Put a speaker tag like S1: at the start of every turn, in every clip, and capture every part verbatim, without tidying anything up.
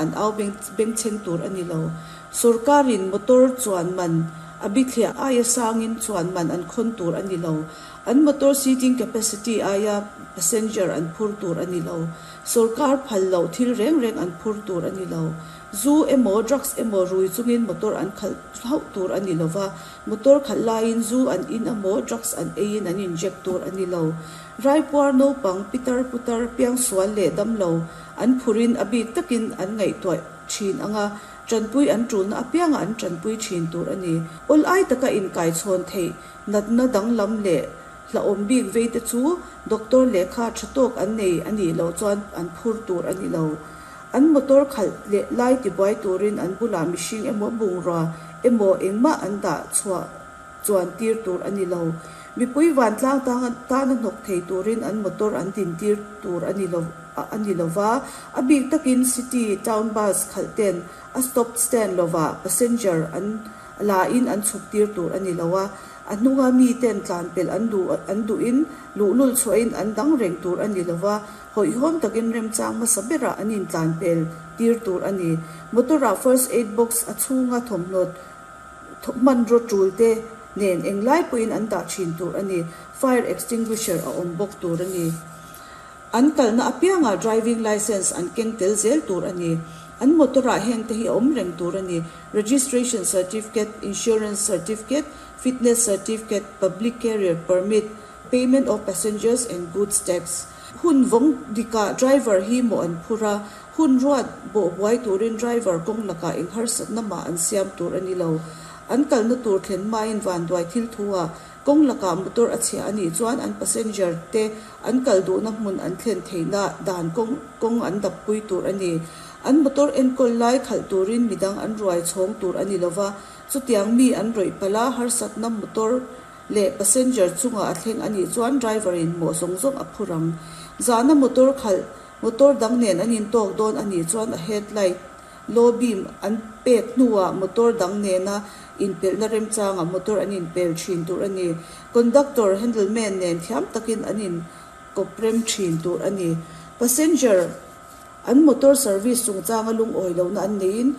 S1: An au bengchheng tur a ni lo. Sorkarin motor chuan man a bithliah aia sangin chuan man an khawn tur a ni lo. An motor seating capacity aia passenger an phur tur a ni lo. Sorkar phal loh thil reng reng an phur tur a ni lo. Zu emaw drugs emaw rui chungin motor an khalh hauh tur a ni lo va, motor khalh laiin zu an in emaw drugs an eiin an inject tur a ni lo. Raipuar naupang pitar putar piangsual leh damlo an phurin a bik takin an ngaihtuah thin anga tanpui an tulna apianga an tanpui thin tur a ni. Awl ai taka inkaichhawn theih natna danglam leh hlauhawm bik vei te chu doctor lehkha tha tawk an nei a nih loh chuan an phur tur a ni lo. An motor khalh leh lai tibuai turin an bulah mihring emaw bungrua emaw engmah an dah chhuah chuan tir tur a ni lo. Mipui vantlang tana hnawk thei turin an motor an din tir tur a ni lo a ni lova, a bik takin city town bus khalh ten a stop stand lova passenger an la in an chhuk tir tur a ni lo a, a hnunga mi ten tlan pel an duh an duhin luhlul chhuahin an dang reng tur a ni lova, hawihhawm takin remchang hmasa berah an intlan pel tir tur a ni. Motor-ah first aid box a chhunga thawmhnaw hmanraw tul te nen englai pawhin an dah thin tur a ni. Fire extinguisher a awm bawk tur a ni. An kalna apianga driving license an keng tel zel tur a ni. An motor-ah heng te hi a awm reng tur a ni. Registration certificate, insurance certificate, fitness certificate, public carrier permit, payment of passengers and goods tax. Hun vawng dikah driver hi mawh an phur a, hun ruat bawh buai turin driver kawng lakah eng harsatna mah an siam tur a ni lo. An kalna tur thlen hmain vanduai thil thu a kawng lakah motor a chhia a nih chuan an passenger te an kal duhna hmun an thlen theihna dan kawng kawng an dappui tur a ni. An motor enkawl lai khalh turin midang an ruai chhawng tur a ni lova, chutiang mi an rawih palh a harsatna motor leh passenger chungah a thleng a nih chuan driver in mawh zawng zawng a phur ang. Zana motor khalh motor dang nen an intawk dawn a nih chuan a headlight low beam an pek hnuah motor dang nena inpelhna remchangah motor an inpel thin tur a ni. Conductor handleman nen thiam takin an inkawp rem thin tur a ni. Passenger an motor service chungchanga lungawi lohna an neiin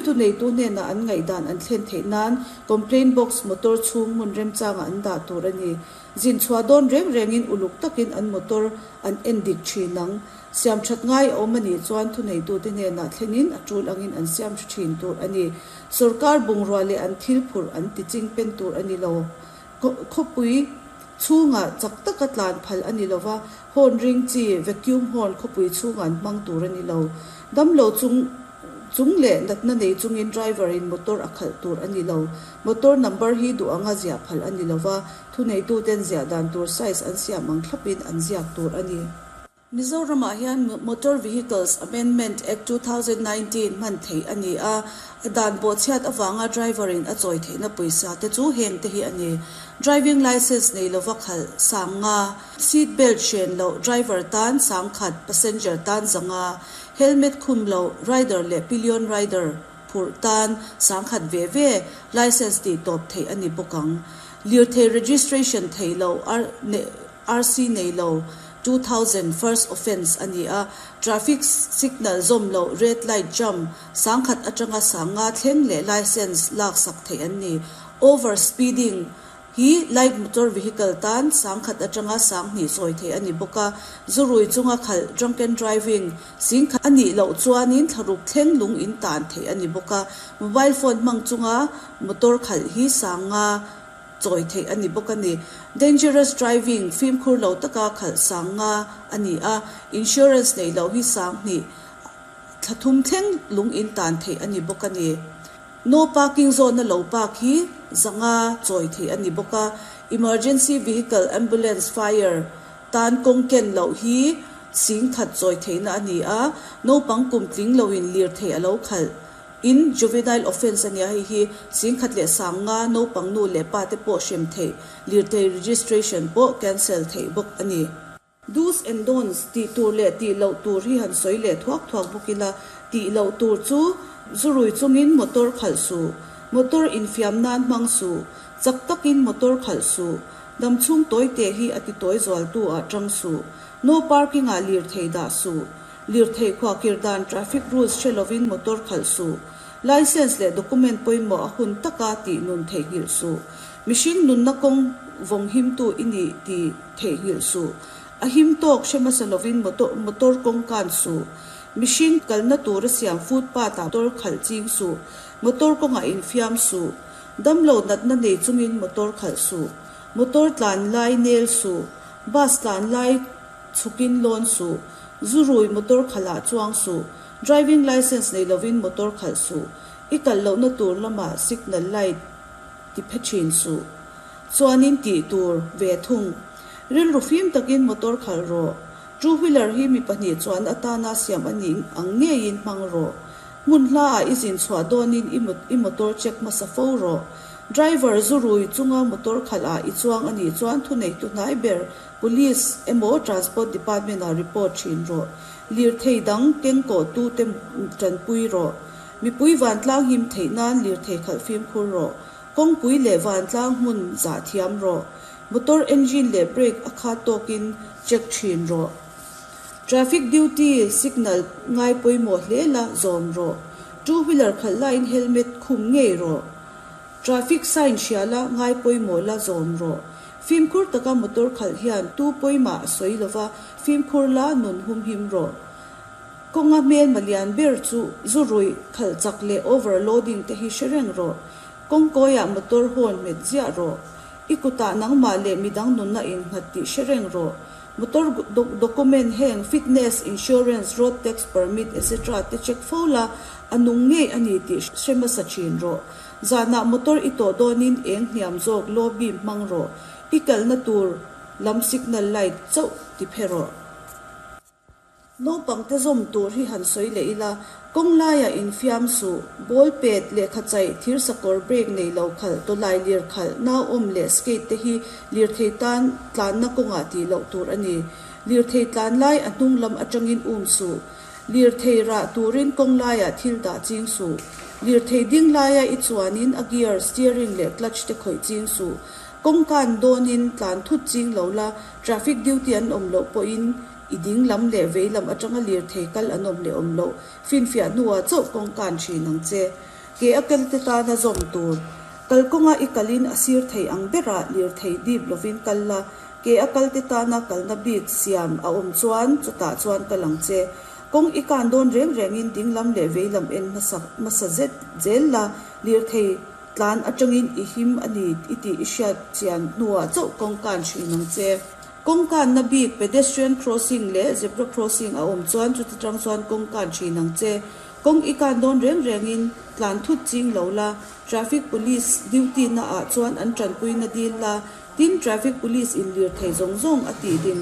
S1: thuneitu hnenah an ngaihdan an thlen theih nan complaint box motor chhung hmun remchangah an dah tur a ni. Zin chhuah dawn reng rengin uluk takin an motor an en dik thin ang. Siam that ngai a awm a nih chuan thuneitute hnenah thlenin a tul angin an siam thin tur a ni. Sorkar bungrua leh an thil phurh an tiching pen tur a ni lo. Khawpui chhungah chak taka tlan phal a ni lova, horn ring chi vacuum horn khawpui chhungah an hmang tur a ni lo. Damlo chung chung leh natna nei chungin driver in motor a khalh tur a ni lo. Motor number hi duh anga ziah phal a ni lova, thuneituten ziah dan tur size an siam ang thlapin an ziak tur a ni. Mizoramah hian Motor Vehicles Amendment Act two thousand nineteen hman theih a ni a, a dan bawhchhiat avanga driver in a chawi theihna pawisa te chu heng te hi a ni. Driving license nei lova khalh sang nga, seat belt hren loh driver tan sang khat, passenger tan zanga, helmet khum loh rider leh pillion rider phurh tan sang khat ve ve, license tih tawp theih a ni bawk ang. Lirthei registration theih loh R C nei lo two thousand first offence a ni a, traffic signal zawm loh red light jump sang khat atanga sang nga thleng leh license lak sak theih an ni. Over speeding hi light motor vehicle tan sang khat atanga sang hnih chawi theih a ni bawk a, zurui chunga khalh drunken driving sing khat a nih loh chuanin thlaruk thleng lung in tan theih a ni bawk a, mobile phone hmang chunga motor khalh hi sang nga chawi theih a ni bawk a ni. Dangerous driving fimkhur lo taka khalh sang nga a ni a, insurance nei loh hi sang hnih thlathum thleng lung in tan theih a ni bawk a ni. No parking zone a lo park hi zanga chawi theih a ni bawk a, emergency vehicle ambulance fire tan kawng ken loh hi sing khat chawi theihna a ni a, naupang kum tling loin lir theih a lo khalh in juvenile offence a ni a, hei hi sing khat leh sang nga naupang nu leh pa te pawh hrem theih lirthei registration pawh cancel theih bawk a ni. Do's and don'ts tih tur leh tih loh tur hi han sawi leh thuak thuak bawk ila, tih loh tur chu zurui chungin motor khalh suh, motor infiam nan hmang suh, chak takin motor khalh suh, damchhung tawi te hi a ti tawi zual tu ah tang suh, no parking ah lirthei dah suh, Lirthei khuahkhirh dan traffic rules hre lovin motor khalh suh. Licence leh document pawimawh a hun taka tih nun theihnghilh suh. Mihring nunna kawng vawng himtu i ni tih theihnghilh suh. A him tawk hre hmasa lovin motor kawng kan suh. Mihring kalna tura siam footpath ah motor khalh ching suh. Motor kawngah infiam suh. Damlo natna nei chungin motor khalh suh. Motor tlan lai nel suh. Bus tlan lai chhukin lawn suh. Zu rui motor khalh ah chuang suh. Driving licence nei lovin motor khalh suh. I kal lohna tur lamah signal light ti phe thin suh. Chuanin tih tur ve thung. Rilru fim takin motor khalh rawh. Two wheeler hi mi pahnih chuan atana siam a nih ang ngeiin hmang rawh. Hmun hlaah i zin chhuah dawnin i motor check hmasa fo rawh. Driver zu rui chunga motor khalh ah i chuang a nih chuan thuneitu hnai ber Police emaw Transport Department ah report thin rawh. Lirthei dang kengkawh tute tanpui rawh. Mipui vantlang him theih nan lirthei khalh fimkhur rawh. Kawngpui leh vantlang hmun zah thiam rawh. Motor engine leh brake a khat tawkin check thin rawh. Traffic duty signal ngai pawimawh hle la zawm rawh. Two wheeler khalh laiin helmet khum ngei rawh. Traffic sign hria la ngai pawimawh la zawm rawh. Fimkhur taka motor khalh hian tu pawimah a sawi lova fimkhur la nun humhim rawh. Kawnga hmel malian ber chu zu rui khalh chak leh overloading te hi hre reng rawh. Kawngkawiah motor horn hmet ziah rawh. I kutah nangmah leh midang nunna innghat tih hre reng rawh. Motor document heng fitness, insurance, road tax permit etc te check fo la a nung ngei a ni tih hre hmasa thin rawh. Zanah motor i tawh dawnin eng hniam zawk low beam hmang rawh. I kalna tur lam signal light chauh ti phe rawh. Naupang te zawm tur hi han sawi leh ila, kawng laiah infiam suh, ball pet, lehkha chaih, thir sakawr brake nei lo khalh, tawlai lir khalh, nauawm leh skate te hi lirthei tan tlanna kawngah tih loh tur a ni. Lirthei tlan lai a hnung lam atangin um suh. Lirthei rah turin kawng laiah thil dah ching suh. Lirthei ding laia i chuanin a gear, steering leh clutch te khawih ching suh. Kawng kan dawnin tlan thut ching lo la, traffic duty an awm loh pawhin i ding lam leh vei lam atanga lirthei kal an awm leh awm loh finfiah hnuah chauh kawng kan thin ang che. Ke a kal te tana zawm tur. Kalkawnga i kalin a sir thei ang berah lirthei dip lovin kal la, ke a kal te tana kalna bik siam a awm chuan chutah chuan kal ang che. Kawng i kan dawn reng rengin ding lam leh vei lam en hmasa hmasa zet zel la, lirthei tlan atangin i him a ni i tih i hriat chian hnuah chauh kawng kan thin ang che. Kawng kanna bik pedestrian crossing leh zebra crossing a awm chuan chuti tang chuan kawng kan thin ang che. Kawng i kan dawn reng rengin tlan thut ching lo la, traffic police duty na ah chuan an tanpuina dil la, tin traffic police in lirthei zawng zawng a tih din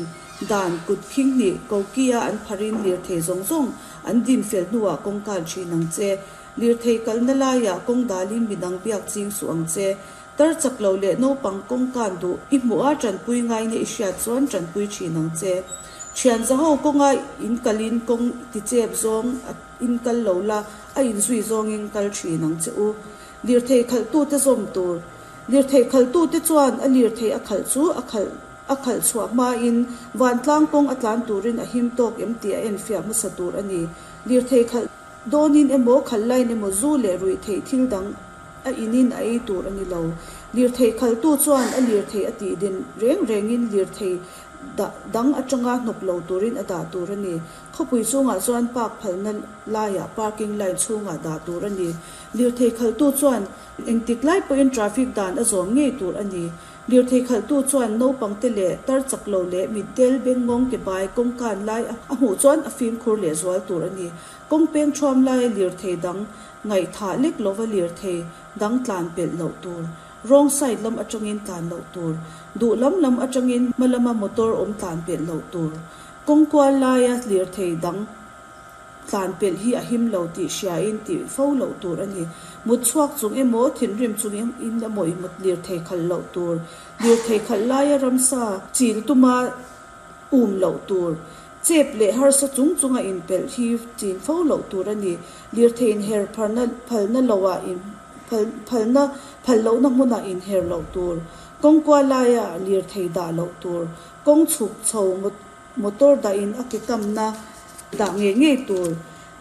S1: dan kut khing hnih kokia an pharin lirthei zawng zawng an din fel hnuah kawng kan thin ang che. Lirthei kalna laiah kawng dalin midang biak ching suh ang che. Tar chak lo leh naupang kawng kan duh i hmuh a tanpui ngai na i hriat chuan tanpui thin ang che. Thian zaho kawnga in kalin kawng ti chep zawng in kal lo la a inzui zawngin kal thin ang che u. Lirthei khalh tu te zawm tur. Lirthei khalh tu te chuan a lirthei a khalh chu a khalh a khalh chhuah hmain vantlang kawng a tlan turin a him tawk em tih a enfiah hmasa tur a ni. Lirthei khalh dawnin emaw khalh lain emaw zu leh rui theih thil dang a inin a ei tur a ni lo. Lirthei khalh tu chuan a lirthei a tih din reng rengin lirthei dang atanga hnawk lo turin a dah tur a ni. Khawpui chungah chuan park phalna laiah parking line chhungah dah tur a ni. Lirthei khalh tu chuan engtik lai pawhin traffic dan a zawm ngei tur a ni. Lirthei khalh tu chuan naupang te leh tar chak lo leh mitdel bengngawng ke bai kawng kan lai a hmuh chuan a fimkhur leh zual tur a ni. Kawng peng thuam laia lirthei dang ngaihthah lek lova lirthei dang tlan pelh loh tur. Wrong side lam atangin tlan loh tur. Duh lam lam atangin hmalama motor awm tlan pelh loh tur. Kawng kual laia lirthei dang tlan pelh hi a him lo tih hriain tih fo loh tur a ni. Mut chhuak chung emaw thinrim chung in emaw i mut lirthei khalh loh tur. Lirthei khalh laia ramsa chil tuma um loh tur. Chep leh harsa chung chunga in pelh hi chin fo loh tur a ni. Lirthei in her pharna phalna loah in phalna phal lohna hmunah in her loh tur. Kawng kual laia lirthei dah loh tur. Kawng chhuk chho motor dah in a ke kamna Dah ngei ngei tur.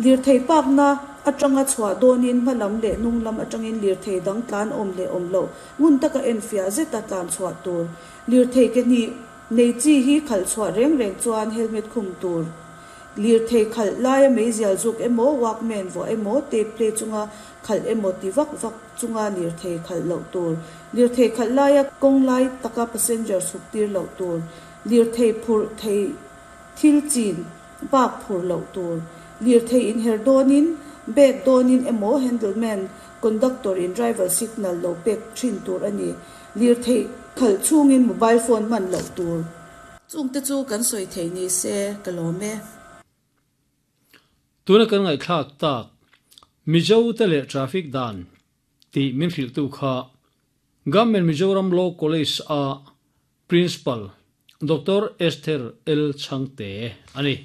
S1: Lirthei park-na atanga chhuah dawnin hma lam leh hnung lam atangin lirthei dang tlan awm leh awm loh ngun taka enfiah zeta tlan chhuah tur. Lirthei ke hnih nei chi hi khalh chhuah reng reng chuan helmet khum tur. Lirthei khalh laia meizial zuk emaw, walkman vuah emaw, tape play chunga khalh emaw ti vak vak chunga lirthei khalh loh tur. Lirthei khalh laia kawng lai taka passenger chhuk tir loh tur. Lirthei phurh thei thil chin bak phurh loh tur. Lirthei inher dawnin, bag dawnin emaw handleman, conductor in driver signal lo pek thin tur a ni. Lirthei khalh chungin mobile phone hman loh tur. Chungte chu kan sawi thei ni se ka lawm e.
S2: Tuna kan ngaihthlak tak Mizo te leh traffic dan tih min hrilhtu kha Government Mizoram Law College a Principal Doctor Esther L Chhangte a ni.